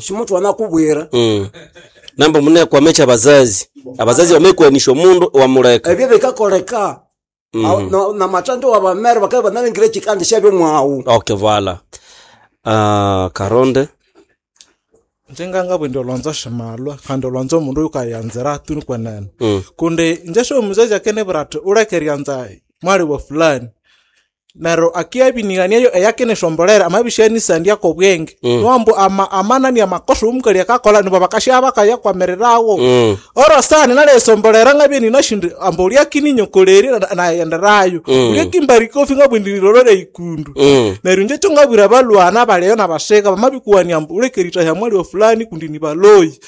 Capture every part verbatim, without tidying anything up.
Shimutwana kubwira. Mm. Nambo munekwama abazazi abazazi bamekwanisha omundu wamuleka. Ebyo bikakoleka. Mm. Aw- na- na matando wa bamere bakaba banalengire chikandi syabyo mwawu. Okay, voilà. Uh, karonde. Nje ngangabwa olwanzo shimalwa kandi olwanzo omundu yukayanzira tu nikwenene. Mm. Kundi inje syomuzazi akenebwira athi uleke eryanza mwali wa fulani, neryo akiyabinighaniayo eyakinisombolera amabisyanisandya kobwenge. Mm. Niwambu ama, amanani amakosa omukali akakolha nibo bakasya bakayakwamiriragho. Mm. Oro sani naliyisombolera ngabya ninashindi amba ulyakininyokolerya na- nayenderayo. Mm. Ulyakimba rikofi ngabwa indi nilolere ikundu. Mm. Neryo inje kyo ngabwira abalwana abalyayo nabasika bamabikuwania ambu uleke eritahya mwali wa fulani kundi ni baloyi,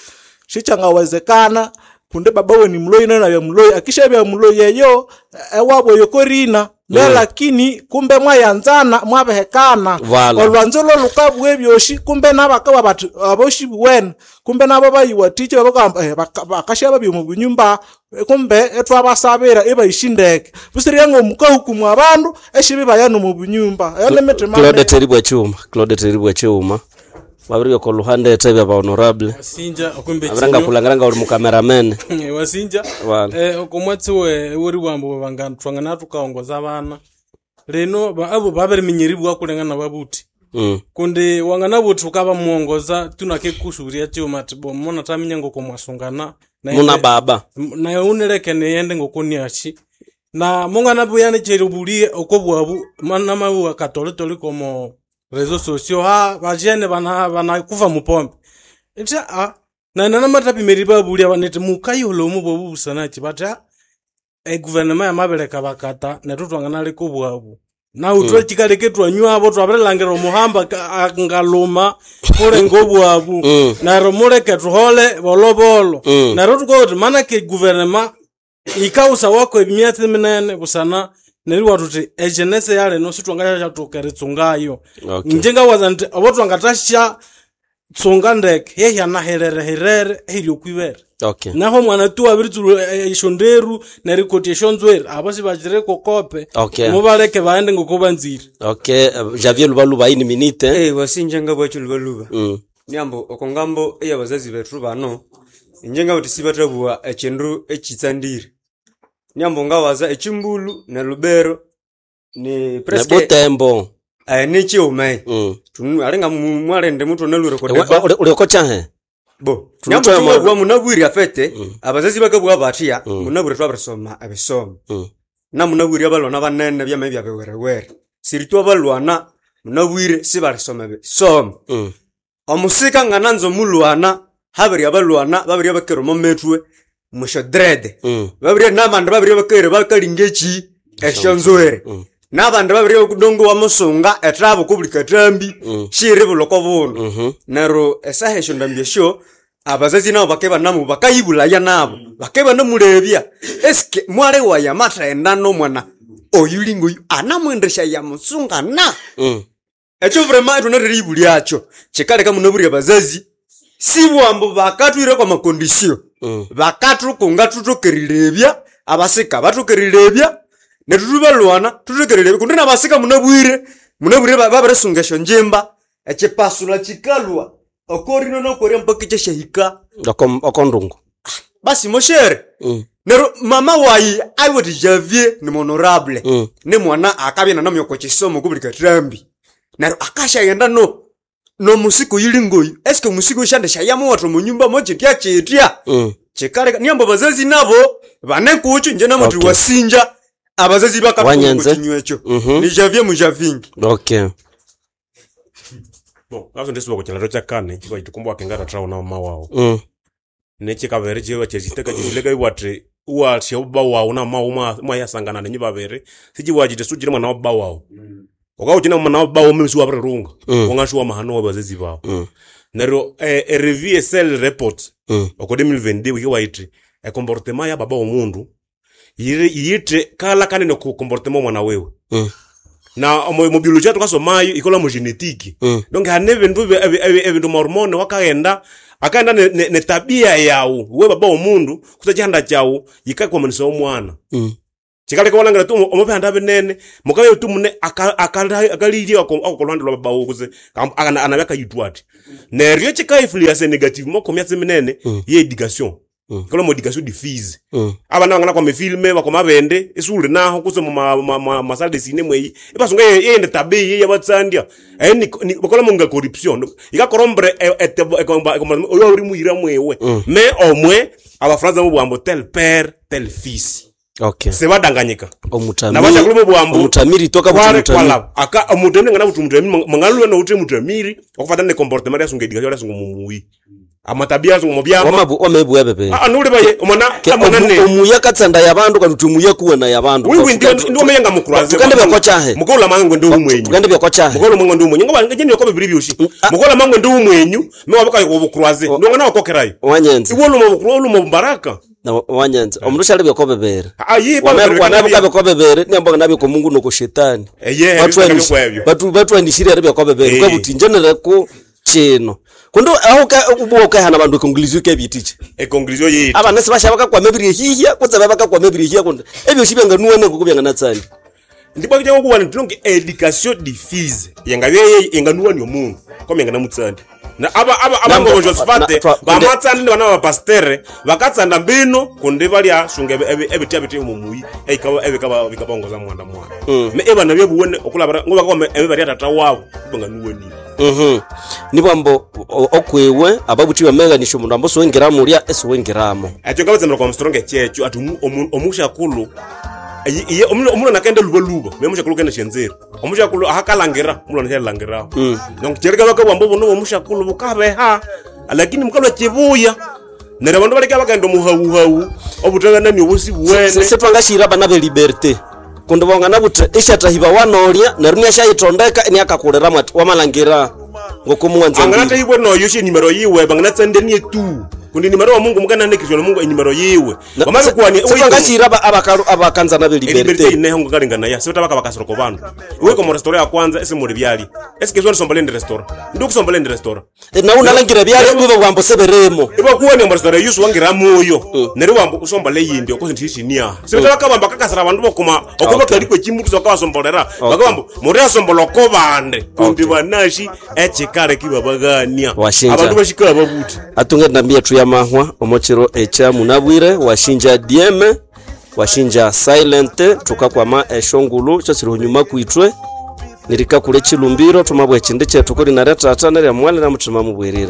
sikyangawezekana kundi baba we ni muloyi nayo nabya muloyi, akishabya muloyi eyo ewabo eyo korina ne. Mm. Lakini kumbe mwayanzana mwabihekana. Voilà. Olwanzo lolukabugha ebyosi kumbe nabakabugha bathi abosi buwene kumbe nabo bayiwathikya babakagamba eh, baka- bakasya babya omu bunyumba, eh, kumbe ithwabasabira ibayisi ndeke busirya ngomukahukumu abandu esibibaya nomu bunyumba eyo nemitima. Claude Teribwa Chuma, Claude Teribwa Chuma. Wabiri ko luhande etebya ba honorable. Wasinja okumbe. Abiranga kulangiranga uli mu cameraman. Wasinja. Voilà. Eh okomwatsi we wori bwambo bangana twangana tukaongoza abana lino ba- abo babiriminyeribwa kulengana babuti. Mm. Kundi wangana buti ukaba muongoza tunake kusuria chuma ati bo mona taminya ngoko mwasungana na Muna ende- baba. naye unileke niyende ngokuniachi na mungana buyani cheri bulie okobwabu mana mabuwa katolitoli komo rezo sosio ha bajene bana bana kufa mupombe ita a na nana matapimeri babulia banete mukayolo omu bobu busanachi bata e guvernema yamabeleka bakata netu twangana leko bwabu na utwe mm. chikaleke twanywabo twabirelangira omuhamba ka- a- ngaluma kulenga obwabu. Mm. Neryo muleke tuhole bolobolo. Mm. Neryo tukokuti mana ke guvernema ikausa wako emyatsi minene busana neriwa tuti ejenese yaleno sitwangashathuka eritsungayo. Okay. Inje ngawaza nti obo twangathasya tsunga ndeke yehyanaherere ehiri okwibere. Okay. Naho mwana tu abiritsuru eshonderu nerikoti eshonzwere abo sibakire kokope. Okay. Mubaleke baghende ngokubanzire. Okay, eh, Javier Lubaluba ini minute. Eh, wasinja ngabwacho lubaluba. Mm. Niambo okongambo eyabazazi bethu bano inje ngabuthi sibathabugha echindu echitsandire. Niambo ngawaza echimbulu ne lubero ni Ne presque Butembo. eh, nichiume. Mm. Tunu alinga mu- mwalende muthu nalure Uli kodeba. uli kocha he? Bo, Tunu niambo twa- tungabugha munabwire afete abazazi bakabugha bathya munabwire twabirisoma ebisomo. Mm. Na munabwire abalwana banene byama byabiwerewere. Siritu abalwana munabwire sibalisoma ebisomo. Mm. Omusika ngananza omulwana habiri abalwana babiri abakere omo methwe mwisho dread. Mm. Babiri nabandi babiri abakere bakalinga eki esyonzwere. Mm. Nabandi babiri okudongo wamusunga etrabo kubuli katambi Mm. shiribula oko bundu. Mhm. Neryo esaha esyo ndambi esyo abazazi nabo bakeba nabo bakayibulaya nabo bakeba namulebya eske mwali wayi amathaghenda nomwana oyu lingoyu anamwendesya yamusunga na. Mm. Ekyo vrema ithunatheriyibulyacho kikaleka munabwire abazazi sibwambu bakatwire kwa makondisio. Mm. Bakathukunga thuthokerilebya abasika bathokerilebya nethu thubalwana thuthokerilebya kundi nabasika munabwire munabwire ba- babirisunga esyonjimba echipasula kikalwa okorino nokorya mpaka ikyashahika. Oko oko ndungu. Basi moshere. Mm. Neryo mama wayi aiwuthi Javier ni honorable. Mm. Ni mwana akabya nanamya oko kisomo kubuli kathambi neryo akashaghenda no nomusika oyuli ngoyu eske omusika oyu shandishayamuwatha omunyumba mokyitya kyitya. Mm. Kikaleka niambo abazazi nabo bane kucho nje namuthi Okay. wasinja abazazi Wanyenze. bakathukinywa ekyo. Mhm. Ni Javier mujavingi. Okay. Bon, ngaso ndisiwa kuchilalo cha kane chikwa chitukumba wakengata trawo na mama wawo. Mm. Nechikavere chiwa cheziteka chizileka iwati uwashe ubba wawo na mama mwa mwayasangana nenyu babere sichiwachite sujire mwana wa baba wawo. Ukauchina mwana wa baba wawo mimi siwabirirunga. Mm. Wangashuwa mahano wa bazazi bawo. Mm. Neryo eh, e review cell report Mm. oko deux mille vingt-deux wiki waiti e comportement ya baba womundu yiri yite kala kanene ku comportement mwana wewe. Mm. Na omo mu biology tukasomayo ikola mu genetique. Mm. Donc hane bintu ebintu mahormone wakaghenda akaenda ne, ne, ne tabia yawu we baba womundu kusa chihanda chawu yikakwamanisa omwana. Mm. Chikaleka walangira tu omubihanda binene mukabya tu mune akalirya akolhwande lwa babawo kuze anabya akayithwa athi neryo chikainfluence negative moko myatsi minene ye education kalo mo education diffuse abana bangana kwa mifilme bakoma bende isuli naho kuse mu ma- ma- ma- masale de ciné mweyi ibasunga yende tabi yabatsandya eh ni bakola munga corruption ikakorombere oyo uri muhira mwewe me omwe abafaransa mu bwambo tel père tel fils okay sebadanganyika omutamiri nabashakulu mu bwambo omutamiri toka buti kwale mutamiri kwalaba aka omutamiri ngana buti mutamiri mangalwe no uti mutamiri okufatana ne comportement yasunga education yasunga mumuyi amatabia yasunga mubyama wamabu wamebwa bebe ah nuli baye omwana omwana ne omuya katsanda yabandu kandi uti omuya kuwena yabandu wiwi ndio ndio meyenga mukuraze tukande byakochahe mukola mangu ndi umwenyu tukande byakochahe mukola mangu ndi umwenyu ngoba ngene yokobe biri byoshi mukola mangu ndi umwenyu mewabaka yobukuraze ndo ngana wakokerayo wanyenze iwo lumo bukuru lumo baraka na wanyenze omundu shali byakobebere ah yi wanabuka byakobebere niambo nabyo ko Mungu noko shetani eye Batwanishe- batu batwanishire ari byakobebere Eh. kwabuti njenere ku chino kundo aho ka ubuwa ukahana bandu ekongilizio kebyitiche econclusion yitu abana sibasha bakakwama ebirihihya kutse bakakwama ebirihihya kundi ebyoshi byanganuwane kuko byanganatsani ndibwa kija kuwa ntilonge education diffuse yengabye yenganuwa ni omundu koma yenganamutsandi na aba aba Nambo- abango na- Josphate twa- kunde- bamatsandi ni bana ba pastere bakatsanda mbino kundi balya sunga ebiti ebiti mumuyi ekaba ebikaba bikabongoza mwanda mwana me ebana byebuwene okulabara ngoba koma ebibali tata wabo banganuwa ni Mhm. Nibwambo o- okwiwe ababuthi bameganisha omundu ambo siwengiramo ulya esiwengiramo ekyo ngabatsemera kwa mstronge checho ati omu- omu- omushakulu iye- iye omu- omulwana akaenda lubaluba me omushakulu kenda shenzeri omushakulu ahakalangira omulwana shalangiraho donc kyereka bakabwamba buno omushakulu bukabeha lakini mukalwa chibuya neryo abandu baleka bakaenda omuhawuhawu obuthakanani obusi buwene sitwangashira abana be liberté kundi bongana buthi ishathahiba wanolya neryo niashayithondeka iniakakuliramu ati wamalangira ngokomuwanza anganatahibwe noyo shenimero yiwe banganatsandenie tu kundi nimero wa mungu mukananekirishwa na mungu enyimero yiwe bamabikuwania sitwangashira aba- abakanzana be eliberite liberté ineho ngakalingana siveta bakabakasira bandu iwe komo restaurant ya kwanza esimuli byali esikeziwa ndisombola endi restaurant ndikusombola endi restaurant nawu nalangira byali bwiba bwambo seberemo ivakuwa ni restaurant yusu wangira muyo neryo wambo usombola eyindi okosi ndishishiniaha siveta bakabamba kakasira abandu bokoma oko bakalikwa echimutu bakabasombolera bakabamba muri asombola oko bande kundi banashi echikale kibabagania Washinja. abandu bashikala babuti atunge ndambi yethu ya mahwa omokiro ekya munabwire washinja dm washinja silent tukakwama eshongulu kyosiri hunyuma kwitwe nirikakula echilumbiro thumabwa echindi kyethu kuli narya tata nerya mwali na muthima mubwirire.